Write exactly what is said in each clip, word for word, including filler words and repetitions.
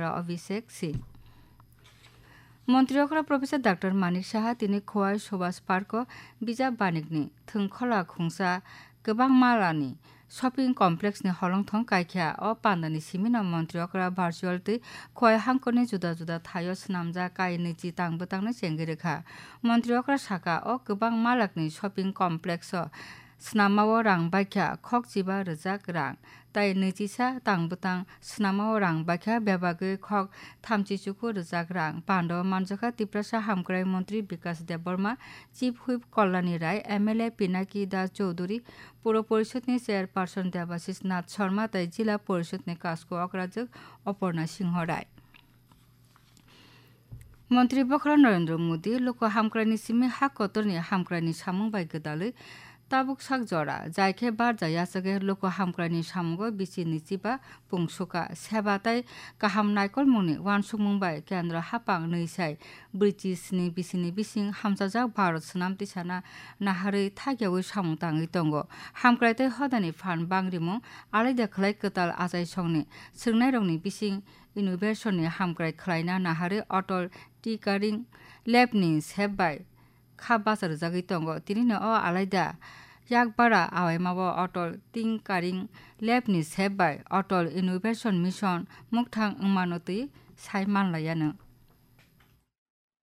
Abhishek Singh. Montri okra Professor Doctor Manik Saha tini Khowai Subhas Park o bijap banikni thwngkhola khungsa kwbang malani shopping complex ni holongthong kaikha. O pandani simino montri okra virtual tei Khowai hangkorni juda juda thaio swnamjak kai nwichi tang bwtangno chengwi rwkha. Montri okra saka, o kwbang malakni shopping complex o swnamao rang baikha khokchiba rwjak rang, tai nwichisa tang bwtang swnamao rang baikha bebagwi khok thamchi chuku rwjak rang. Pando manjakha Tiprasa Hamkrai Montri Bikas Debbarma, Chief Whip Kalyani Rai, M L A Pinaki Das Chowdhury, Puro Porishod ni Chairperson Debashis Nath Sharma tai Jila Porishod ni Kasko Okrajwk Oporna Singho Rai. Montri Bokhorok Narendra Modi loko hamkraini simi ha kotorni hamkraini samung bai gwdalwi tabuk sak jora, jai khe barja yachagwi loko hamkraini samungo bisi nwichiba pungsuka, seba tai kaham naikolmungni uansukmung bai kendro haphang nwi sai brwichi sni bisini bising hamchajak Bharat swnam tisana naharwi thakyaui samung tangwi tongo. Hamkrai tei hodani phan bangrimung alaida khlai kwtal achaisongni swrwngnairokni bising innovation ni hamkrai khlaina naharwi Atal Tinkering Lab ni sep bai kha bacha rwjagwi tongo. Tinino o alaida yak bara awaimao Atal Tinkering Lab ni sep bai Atal Innovation Mission mukthang wngmano twi sai manlaianw.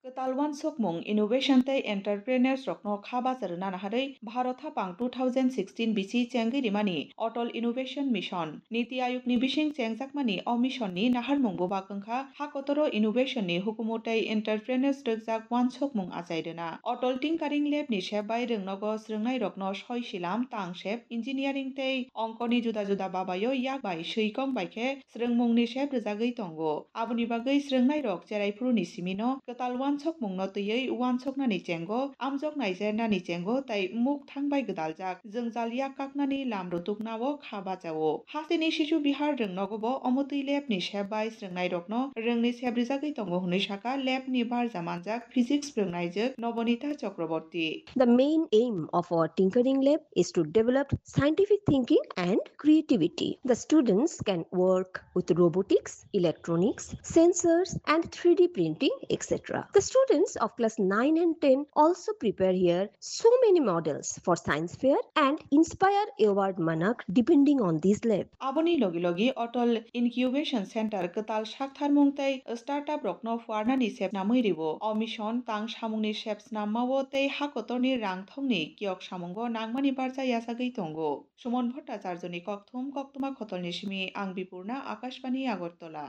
Kwtal uansukmung, innovation tei entrepreneurs rokno kha bacha rwna naharwi Bharat haphang two thousand sixteen bisi chengwi rimani Atal Innovation Mission, Niti Ayog ni bising chengjakmani o mission ni naharmung bubak wngkha ha kotoro innovation ni hukumu tei entrepreneurs rwkjak uansukmung achai rwna. Atal Tinkering Lab ni sep bai rwngnogo swrwngnairokno soi silam, tangsep, engineering tei ongkoni juda juda babaio yak bai swi kong bai khe swrwngmungni sep rwjagwi tongo. Aboni bagwi swrwngnairok cheraiphuruni simino kwtal uansukmungno twiwi uansuknani chengo, amjok naijernani chengo tei mukthang bai gwdaljak jwngjal yak kaknani lam rutukna-o kha bachao. Hasteni Sisu Bihar rwngnogo bo omotwi lab ni sep bai swrwngnairokno rwngni sep rwjagwi tongo hwnwi saka lab ni barja manjak physics swrwngnaijwk Nobonita Chakraborty. The main aim of our tinkering lab is to develop scientific thinking and creativity. The students can work with robotics, electronics, sensors, and three D printing, et cetera. The students of class nine and ten also prepare here so many models for science fair and inspire award manak depending on this lab. Aboni logi logi Atal Incubation Center kwtal saktharmung tei startup rokno phuarnani sep namwi ribo. O mission tang samungni sep snamma-o tei ha kotorni rang thongni kiyok samungo nangmani barja yachagwi tongo. Suman Bhattacharjoni kokthum, koktwma khotolni simi ang Bipurna, Akashbani Agartala.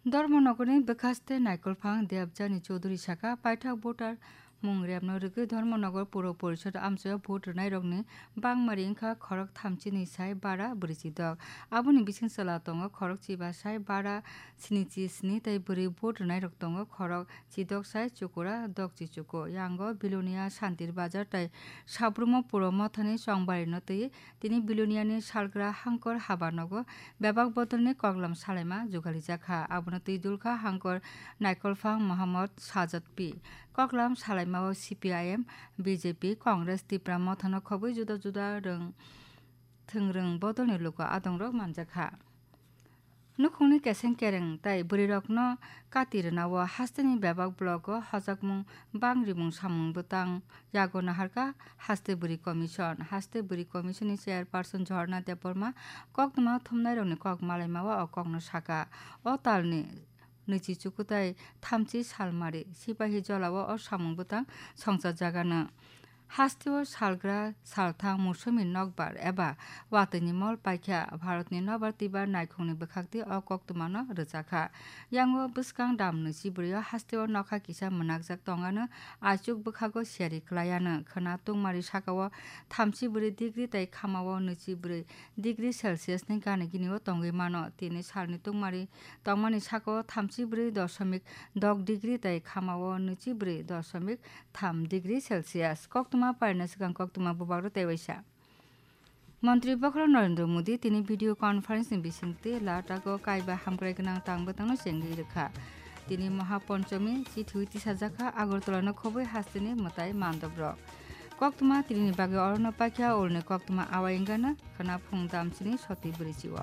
Dharmanagarni bwkhaste Naikolphang Debjani Chowdhury saka, paithak voter mung repno rwgwi Dharmanagar Puro Porishod amchaio vote rwnairokni bangmari wngkha khorok thamchini sai bara brwichi dok. Aboni bising chwla tongo khorok chiba sai bara snichi sni tei bwrwi vote rwnairok tongo khorok chidok sai chukura dokchi chuku. Yango Bilonia, Santir Bazar tei Sabrumo Puro Mothani chongbarino twi tini Biloniani salgra hangkor haba nogo bebak bodolni koklam salaima jugalijak kha. Abono twi dulkha hangkor Naikolphang Mohammad Sajad P. Koklam salaimao C P I M, B J P, Congress, Tipra Mothano khobwi juda juda rwng thwngrwng bodolni luku adongrok manjakha. Nukhungni keseng kereng tai bwrwirokno kati rwnao hasteni bebak blogo hojakmung bangrimung samung bwtang yago naharkha Haste Bwrwi Commission. Haste Bwrwi Commission ni Chairperson Jhorna Debbarma koktwma thumnairokni kok malaimao o kokno saka. O talni nwichi chukutai thamchi salmari Sipahi Jolao o samung bwtang songchajagano. Hasteo salgra salthang musomi nokbar eba watwini mol paikha Bharatni nobar twibar naikhungni bwkhakti o koktwmano rwchakha. Yango bwskang dam nwichi bwrwio hasteo nokha kisa mwnakjak tongano, aichuk bwkhago siyari kwlaiano. Khwna tungmari sakao thamchi bwrwi degree tai khamao nwichi bwrwi degree Celsius ni gani ginio tongwi mano. Tini salni tungmari tongmani sakao thamchi bwrwi dosomik dok degree tai khamao nwichi bwrwi dosomik tham degree Celsius. Koktwma parina swkang koktwma bubagrok tei waisa. Montri Bokhorok Narendra Modi tini video conference ni bisingtwi Ladakh o kaiba hamkrai gwnang tang bwtangno chengwi rwkha. Tini Maha Ponchomi chithwi tisajakha Agartala no khobwi hasteni mwtai mandobrok. Koktwma tinini bagwi orono paikha ulni koktwma awai wngano khwna phung damchini soti bwrwichi o.